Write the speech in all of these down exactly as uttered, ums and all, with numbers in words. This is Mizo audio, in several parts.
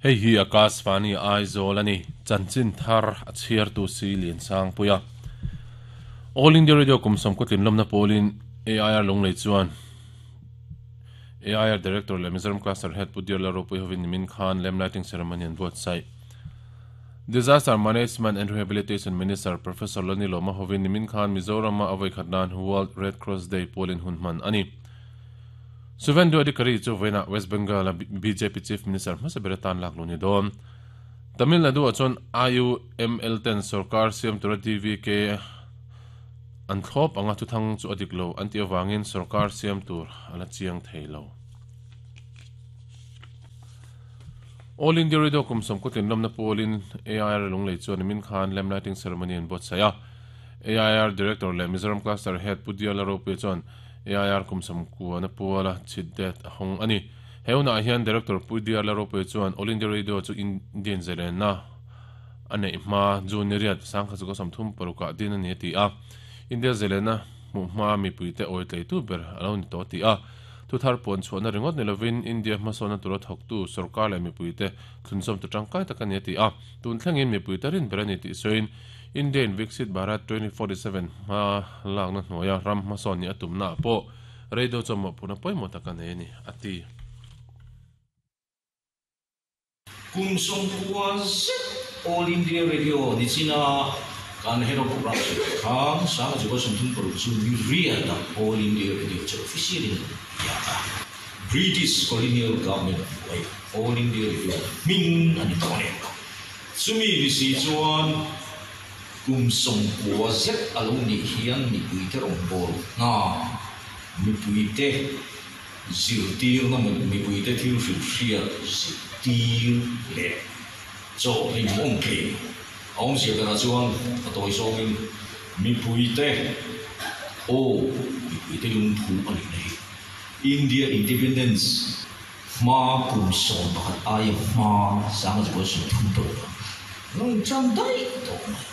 Hei hi Akashvani Aizawl ani chanchin thar a chhiar tu si lian sang puia All India Radio kumsam kutlin lomna polin A I R Lunglei chuan A I R Director le Mizoram Cluster Head Pudir la ropui hovin min khan lamp lighting ceremony an buat sai Disaster Management and Rehabilitation Minister Professor Lani Loma hovin min khan Mizoram ma avoi khatnan World Red Cross Day polin hunman ani Suvendu Adhikari chu vena West Bengal B J P Chief Minister Masaberetan lakluni don Tamil Nadu achon I U M L ten Sarkar Siam Tura D V K an thlop anga chu thang chu adiklo anti awangin Sarkar Siam Tur ala chiang theilo All India Radio kumsom kutlin lomna polin A I R Lunglei chuan min khan lamp lighting ceremony an bot saya A I R Director le Mizoram Cluster Head Pudia Larope chuan A I R kumsam kuana puala chitdet hong ani heuna hian Director Pudia Larope chuan All India Radio chu Indian zelena ane ma junior sangkha chu sam thum paruka din ani ti a India zelena mu ma mi puite oi tlei tu ber alo ni to ti a tu thar pon chuan ringot nilovin India hmasona tura thok tu sarkar le mi puite thunsom tu tangkai taka ni ti a tun thlengin mi puite rin ber ani ti soin Indian Viksit Bharat twenty forty-seven ma langna hnuaia ram hmasawn ni atumna pawh radio chawmawh puna pawimawh taka nei ani ati kum sawmkua zet All India Radio ni china kan head of program khang sang chu ko sawmthum paruk chu mi riata All India Radio chu officially ya British colonial government All India Radio ming ani tone chumi ni si chuan kum sawmkua zet alo ni hian mi puite rawng ball na mi puite zirtir na mi puite thil hrilh hriat zirtir leh chaw hlim awm thei a awm zia berah chuan a tawi zawngin mi puite aw mi puite lungphu a nih na hi India Independence hma kum sawm pakhat aia hma sanga chu pawh sawmthum paruk a lo inṭan daih tawh mai.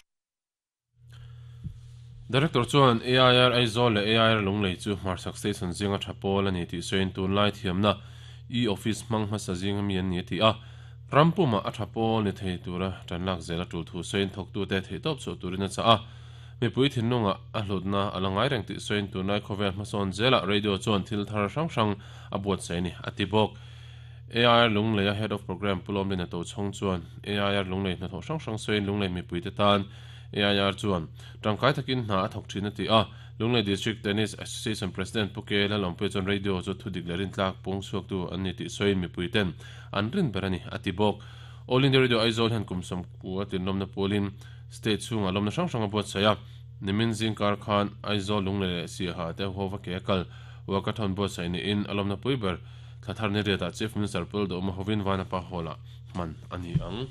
Director chuan A I R Aizawl le A I R Lunglei chu Hmarchhak Station zinga thapol ani tih sawiin tunlai thiamna e-office hmang hmasa zinga mi an ni ti a rampuma a thapol ni thei tura tanlak zela tul thu sawiin thawktu te thei tawp chu turin a cha a mipui thinlunga a hlutna a la ngai reng tih sawiin tunlai khawvel hmasawn zela radio chuan thil thar hrang hrang a buat sai ni a ti bawk A I R Lunglei a Head of Program Pulawm Lina to chhawng chuan A I R Lunglei hnathawh hrang hrang sawiin Lunglei mipui te tan A I R chuan tangkai takin hna a thawk thin a ti a Lunglei District Tennis Association President Puke Lalawmpuia chuan radio chu thu dik lerin tlak pung chhuak tu an ni tih sawiin mipui ten an rin ber ani a ti bawk All India Radio Aizawl hian kumsam ku a tinlawmna pawlin state chhunga lawmna hrang hrang a buat sai a nimin zingkar khan Aizawl Lunglei leh Siaha te hova ke kal walkathon buat sai ni in a lawmna pui ber thlathar ni riatah Chief Minister Pul Dawma hovin Vanapa Hall-ah hman ani ang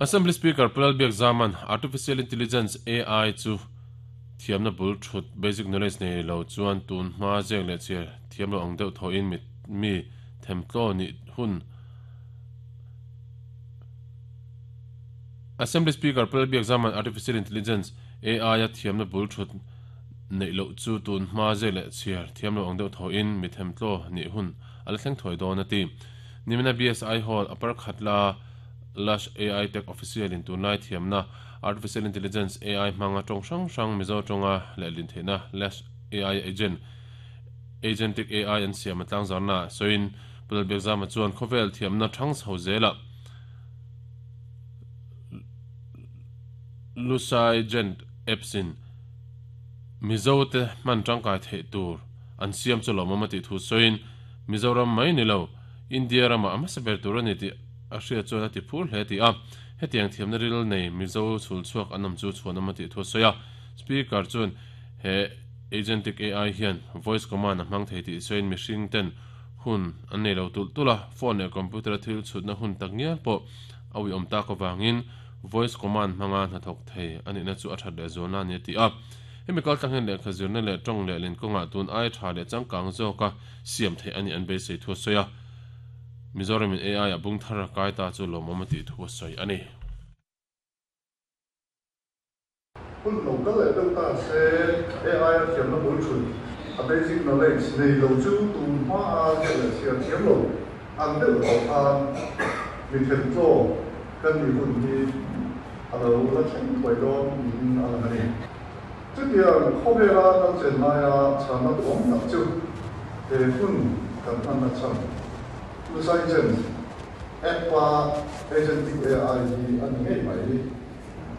Assembly Speaker Pulal Biak Zaman Artificial Intelligence A I chu thiamna bul thut basic knowledge nei lo chuan tun hma zek leh chiar thiam lo ang deuh thaw in mi mi themtlaw ni hun Assembly Speaker Pulal Biak Zaman Artificial Intelligence A I a thiamna bul thut nei lo chu tun hma zek leh chiar thiam lo ang deuh thaw in mi themtlaw ni hun ala thleng thawi dawn a ti nimina B S I Hall upper khatla Lush A I Tech Official in tunlai thiamna Artificial Intelligence A I hmanga tawng hrang hrang Mizo tawnga leh lin theihna Lush A I Agent Agentic A I an siam a tlang zarna sawiin Pulal Biak Zama chuan khawvel thiamna thang chho zela Lusai Gent apps in Mizo te hman tangkai theih tur an siam chu lawmawm a tih thu sawiin Mizoram mai ni lo India rama a hmasa ber tur ani tih a hria chuan a ti phur hle ti a hetiang thiamna ril nei Mizo chhul chhuak an awm chu chhuan awm a tih thu a sawi a speaker chuan he agentic A I hian voice command a hmang thei tih sawiin mihring ten hun an nei lo tul tul a phone leh computer a thil chhutna hun tak ngial pawh a ui awm tak awangin voice command hmanga hnathawk thei ani na chu a that leh zualna ani a ti a hemi kal tlang leh khazirna leh tawng leh lin kawnga tun ai tha leh changkang zawka siam thei ani an beisei thu a sawi a Mizoram in A I a bung thar a kai ta chu lawmawm a tih thu a sawi ani. Hun lo kal leh deuh ta se A I a thiamna bul thut A basic knowledge nei lo chu tun hma a ziah leh chhiar thiam lo ang deuh tawh khan mi then tlaw kan nih hun hi a lo la thleng thuai dawn niin a lang a ni. Chutiang khawvela kan chen laia chhanna duhawm tak chu he hun kan hman a chhan. Usaigent app-a agentic A I hi a ni ngei mai.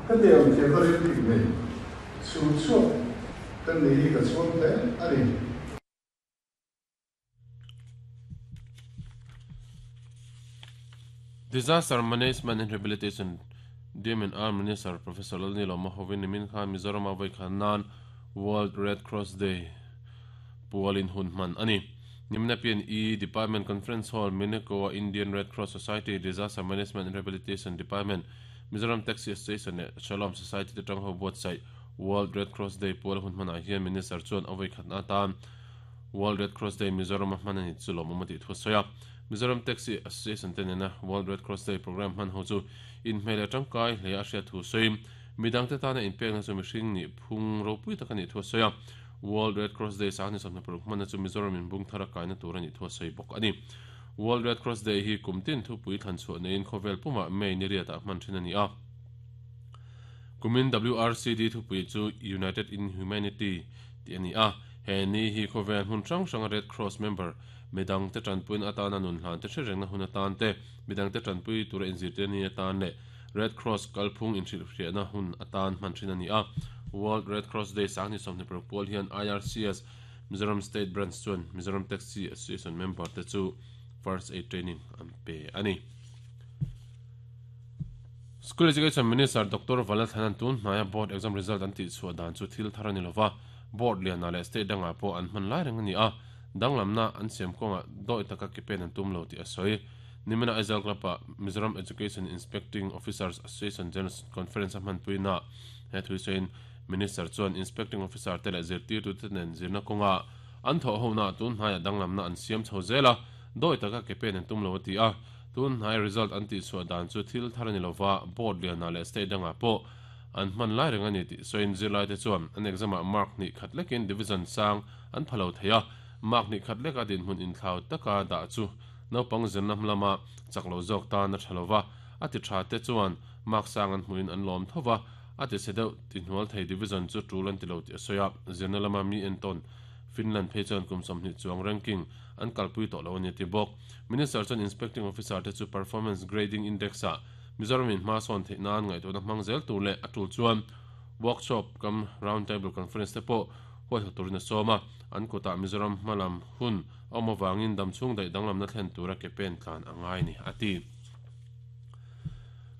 Hetiang thiamna rin bik nei chu chhuak kan ni hi ka chhuang hle a ni. Disaster Management and Rehabilitation D M and R Minister Professor Lalnilawma hovin nimin khan Mizoram a vawi khan nan World Red Cross Day pualin hun hman a ni. Nimna P N E Department Conference Hall Mineko Indian Red Cross Society Disaster Management and Rehabilitation Department Mizoram Taxi Association leh Shalom Society te tang ho buatsaih World Red Cross Day pual hun hmanah hian Minister chuan a vawi khatna atan World Red Cross Day Mizoram a hman a ni chu lawmawm a tih thu a sawi a. Mizoram Taxi Association te nena World Red Cross Day program hman ho chu inhmeh leh tangkai hle a hriat thu sawi. Midang te tana inpekna chu mihring nih phung ropui tak a nih thu a sawi a. World Red Cross Day sang ni sawmhnih paruk hmanna chu Mizoram in bung thar a kaina tur a nih thu a sawi bawk a ni. World Red Cross Day hi kum tin thupui thlan chhuah neiin khawvel pumah May ni riatah hman thin a ni a. Kumin W R C D thupui chu United in Humanity tih a ni a. He ni hi khawvel hmun hrang hranga Red Cross member midang te tanpuiin atana nun hlan te hre rengna hun atan te, midang te tanpui tura inzirtir ni atan leh Red Cross kalphung inhrilhhriatna hun atan hman thin a ni a. World Red Cross Day sang ni sawmhnih paruk pual hian I R C S Mizoram State Branch chuan Mizoram Taxi Association member te chu First Aid Training an pe a ni. School Education Minister Doctor Vanlalthanan tun hnaia board exam result an tih chhuah dan chu thil thar a ni lova, board lianah leh state dangah pawh an hman lai reng a ni a, danglamna an siam kawnga dawi taka ke pen an tum lo tih a sawi. Nimina Aizawl Club-ah Mizoram Education Inspecting Officers Association General Conference a hmanpuina he thui sawiin Minister chuan Inspecting Officer te leh zirtirtu te nen zirna kawnga an thawh hona tun hnaiah danglamna an siam chho zel a, dawi taka ke pen an tum lo a ti a. Tun hnai result an tih chhuah dan chu thil thar a ni lova, board lianah leh state dangah pawh an hman lai reng a ni tih sawiin zirlai te chuan an exam-ah mark hnih khat lekin division sang an pha lo thei a, mark hnih khat leka dinhmun inthlau taka dah chu naupang zirna lama chak lo zawk tan a tha lova, a ti tha te chuan mark sang an hmuin an lawm thova, a ti se deuh ti hnual thei division chu tul an ti lo tih a sawi a. Zirna lama mi entawn Finland phei chuan kum sawmhnih chuang ranking an kalpui tawh lo a ni ti bawk. Minister chuan Inspecting Officer te chu Performance Grading Index-ah Mizoram in hma sawn theih nan ngaihtuahna hmang zel tur leh a tul chuan workshop kam round table conference te pawh huaihawt turin a sawm a. An kutah Mizoram hmalam hun a awm avangin damchhung daih danglamna thlen tura ke pen tlan a ngai ni a ti.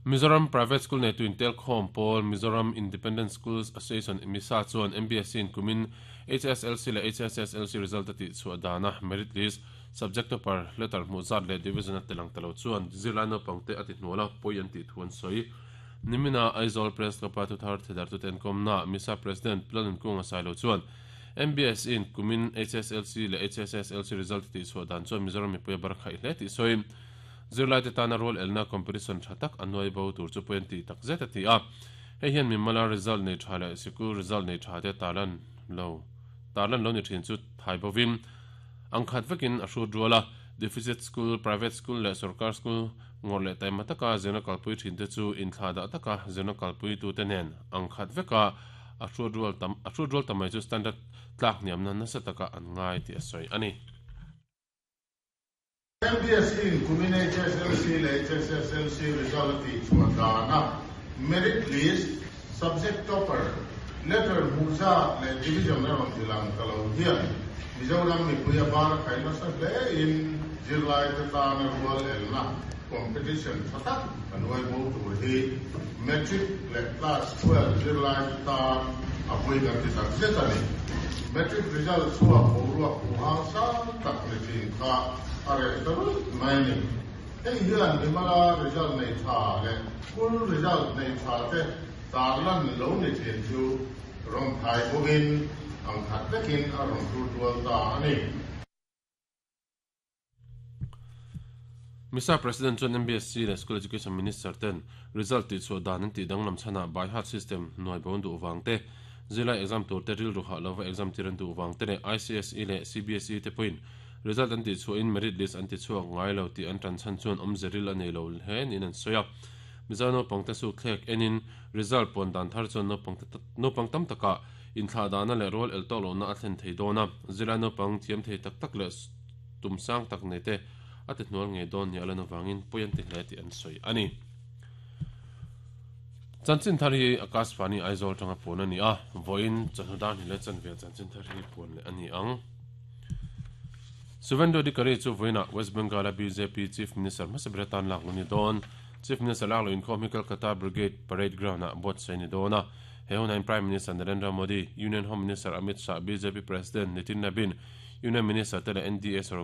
Mizoram Private School nei tu intel khawm pawl Mizoram Independent Schools Association MISA chuan M B S C in kumin H S L C leh H S S L C result a tih chhuah dana merit list subject topper letter hmuh zat leh division a telang talo chuan zirlai naupang te a ti hnuala pawi an tih thu an sawi. Nimina Aizawl Press Club-a thuthar thedar tu ten kawmna MISA President Planin Kunga Sailo chuan M B S in kumin H S L C leh H S S L C result tih chhuah dan chuan Mizoram mipui a bar khaih hle tih sawi. Zirlai te tana role elna competition tha tak an nuai bo tur chu pawi an tih tak zet a ti a. Hei hian mimala result nei tha leh sikul result nei tha te tarlan lo tarlan lo ni thin chu thai bovin ang khat vekin a hrut ruala deficit school, private school leh sarkar school ngawr leh taima taka zirna kalpui thin te chu inthla dah taka zirna kalpui tu te nen ang khat veka a hrut rual tam a hrut rual tamai chu standard tlak niamna nasa taka an ngai ti a sawi a ni. M B S in kumin H S L C leh H S S L C result tih chhuah dana merit list, subject topper, letter hmuh zat leh division erawh tilang ta lo hian Mizoram mipui a bar khai nasa hle in zirlai te tana rual elna competition tha tak an uai bo tur hi matric leh class twelve zirlai te tan a pui kan ti tak zet a ni. Matric result chhuak boruak huhang sang tak ni thin kha a reh ta ruih mai ni. Hei hian mimala result nei tha leh full result nei tha te tarlan lo ni thin chu rawn thai bawkin ang khat vekin a rawn tur tual ta a ni. MISA President chuan M B S C leh School Education Minister ten result tih chhuah dan an tih danglam chhanah by heart system nuai bon duh wang te Zirlai exam tur te rilru hah lova exam tir an duh vang te leh I C S E leh C B S E te pawhin result an tih chhuahin merit list an ti chhuak ngai lo tih an tan chhan chuan awmze ril a nei lo hle niin an sawi a. Mizo naupang te su thlek enin result puan dan thar chuan naupang te naupang tam taka inthlah dana leh rual el tawk lohna a thlen thei dawn a, zirlai naupang thiam thei tak tak leh tum sang tak nei te a ti hnual ngei dawn ni a lan avangin pawi an ti hle tih an sawi a ni. Chanchin thar hi Akashvani Aizawl tanga puan ani a, vawiin chawhnu dar hnih leh chanve chanchin thar hi puan leh ani ang. Suvendu Adhikari chu vawiinah West Bengal a B J P Chief Minister hmasa ber atan lak lo ni dawn. Chief Minister lak lo inkhawm hi Kolkata Brigade Parade Ground ah buatsaih ni dawn a. He hunain Prime Minister Narendra Modi, Union Home Minister Amit Shah, B J P President Nitin Nabin, Union Minister te leh N D A sarkar